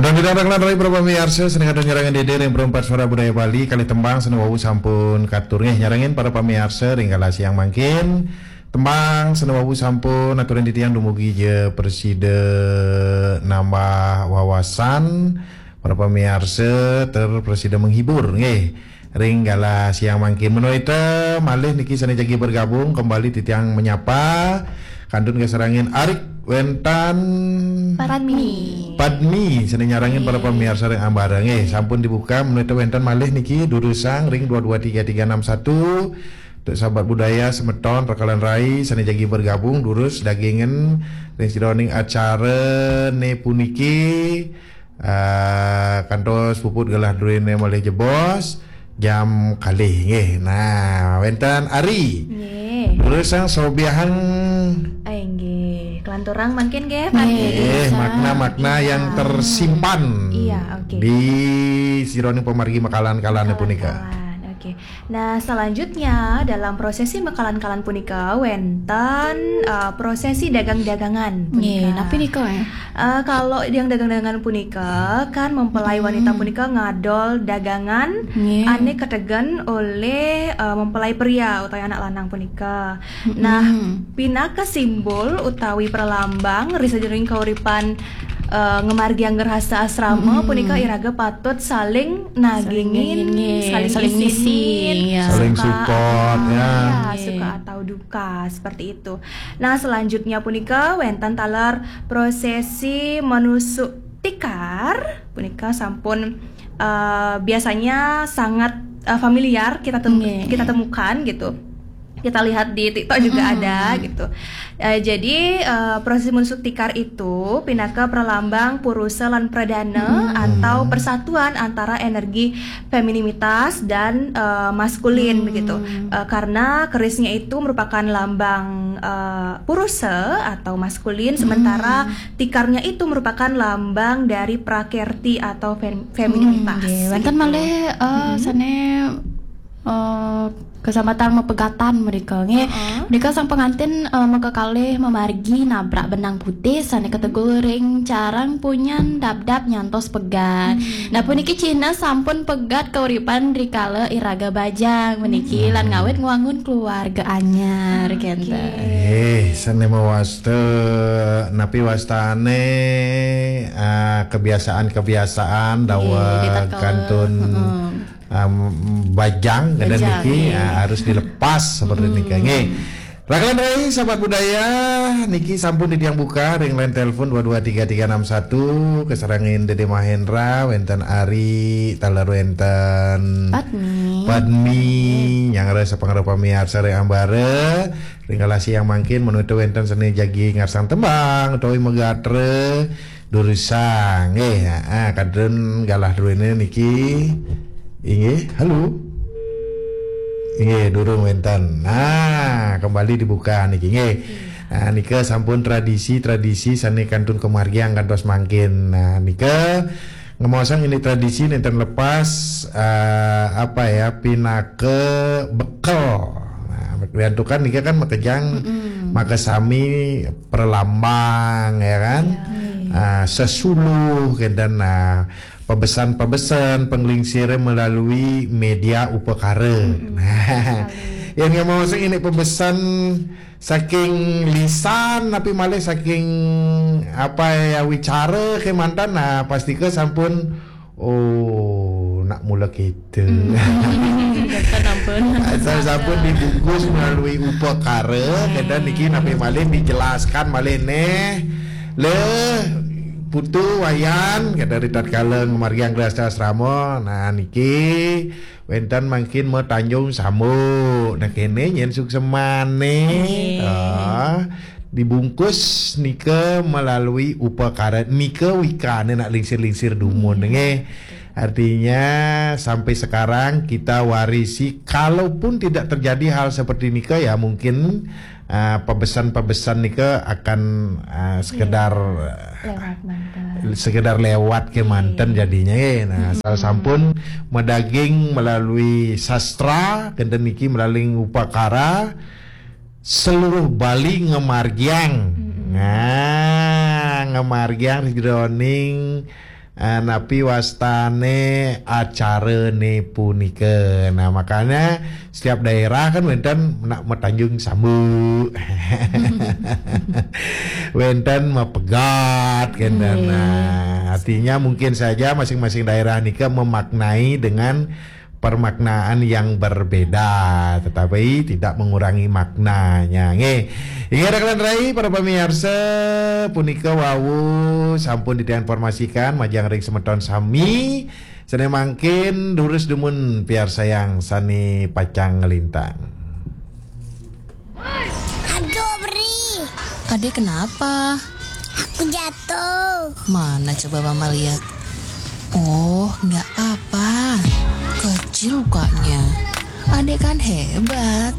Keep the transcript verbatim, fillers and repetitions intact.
Dong didang rakan rai para pamiarsa, sane kadang nyarengin dede ring Perempat Suara Budaya Bali, kalih tembang sane wau sampun katur nggih nyarengin para pamiarsa ring galah siang mangkin. Tembang sane wau sampun aturin titiang dumugi ja prasida nambah wawasan, para pamiarsa ter prasida menghibur nggih. Ring galah siang mangkin menawi ta malih niki sane jagi bergabung kembali titiang menyapa kantun kasarengin arik wenten Padmi. Padmi sane nyarengin para pamiarsa ring ambara nggih. Sampun dibuka menawi ta wenten malih niki durusang ring dua dua tiga tiga enam satu. Untuk sahabat budaya semeton rakalan rai sane jagi bergabung durus dagingin ring sajeroning acara ne puniki. Ah, kantos puput galah druene malih jebos jam kalih nggih. Nah, wenten Ari. Nggih. Durusang sobiahang. Eh, nggih. Kelanturang mangkin nggih, Pak. Nggih, makna-makna yang tersimpan. Iya, oke. Di sajeroning pamargi makalan-kalan punika. Makalan-kalan, oke. Nah, selanjutnya dalam prosesi makalan-kalan punika wenten, eh, prosesi dagang-dagangan punika. Nggih, napi nika, eh? Eh, kalau yang dagang-dagangan punika kan mempelai wanita punika ngadol dagangan ane kategen olih, eh, mempelai pria utawi anak lanang punika. Nah, pinaka simbol utawi pralambang ri sajeroning kauripan, eh, ngamargiang grahasta asrama punika iraga patut saling nagingin, nggih, saling isinin, iya. Saling support, ya. Ya, suka atau duka seperti itu. Nah, selanjutnya punika wenten taler prosesi manusuk tikar punika sampun, eh, biasanya sangat, eh, familiar kita tem- kita temukan gitu. Kita lihat di TikTok juga ada gitu. Eh, jadi, eh, prosesi manusuk tikar itu pinaka pralambang purusa lan pradana atau persatuan antara energi femininitas dan, eh, maskulin begitu. Eh, karena kerisnya itu merupakan lambang, eh, purusa atau maskulin, sementara tikarnya itu merupakan lambang dari prakerti atau fem- femininitas. Nggih, wenten malih, eh, sane, eh, kesempatan mapegatan mrika nggih. Mrika sang pengantin, eh, makakalih mamargi nabrak benang putih sane kategul ring carang punyan dapdap nyantos pegat. Nah, puniki cihna sampun pegat kauripan rikala iraga bajang puniki lan ngawit ngwangun keluarga anyar, kenten. Eh, sane mawasta napi wastane, ah, kebiasaan-kebiasaan daweg kantun, am, bajang kenten niki, ah, harus dilepas seperti nika nggih. Rakalan rai sahabat budaya niki sampun titiang buka ring line telepon dua dua tiga tiga enam satu, kasarengin Dede Mahendra, wenten Ari, taler wenten Padmi. Padmi, nyanggra sapangrep pamiarsa ring ambara, ring galah siang mangkin menawi wenten sane jagi ngarsang tembang utawi magatra, durusang nggih, heeh, kantun galah druene niki. Inggih, halo. Inggih, durung wenten. Nah, kembali dibuka niki nggih. Nah, nika sampun tradisi-tradisi sane kantun kamargiang kantos mangkin. Nah, nika ngemaosang ini tradisi nenten lepas, eh, apa ya, pinaka bekel. Nah, wiantukan nika kan makejang makasami pralambang ya kan. Ah, sesuluh kenten, nah, pabesen-pabesen panglingsire melalui media upakara. Nah, yen ngemaosang ini pabesen saking lisan napi malih saking apa ya wicara kemanten, nah, pastika sampun, oh, nak mula kita. Kenten ampun. Asal sampun dibungkus melalui upakara, kenten niki napi malih dijelaskan malih neh. Leh, Putu, Wayan, kenten ri tatkala ngamargiang grahasta asrama, nah, niki wenten mangkin matanjung sambuk. Nah, kene nyen suksemane. Ah, dibungkus nika melalui upakara nika wikane nak lingsir-lingsir dumun nggih. Artinya sampai sekarang kita warisi, kalaupun tidak terjadi hal seperti nika ya mungkin, ah, pebesan-pebesan nika akan, ah, sekedar, sekedar lewat kemanten jadinya nggih. Nah, asal sampun madaging melalui sastra, kenten niki melalui upakara, seluruh Bali ngamargiang. Nah, ngamargiang ri jroning Ah, napi wastane acarane punika. Nah, makanya setiap daerah kan wenten nak matanjung sambu. Wenten mapegat, kenten. Nah, artinya mungkin saja masing-masing daerah nika memaknai dengan permaknaan yang berbeda, tetapi tidak mengurangi maknanya. Nggih. Inggih, rekan rai, para pamiarsa, punika wau sampun diinformasikan majeng ring semeton sami. Sane mangkin durus dumun piarsayang sane pacang nglintang. Aduh, Bri. Adek kenapa? Aku jatuh. Mana coba mama lihat? Oh, nggak apa-apa. Kecil lukanya. Adek kan hebat.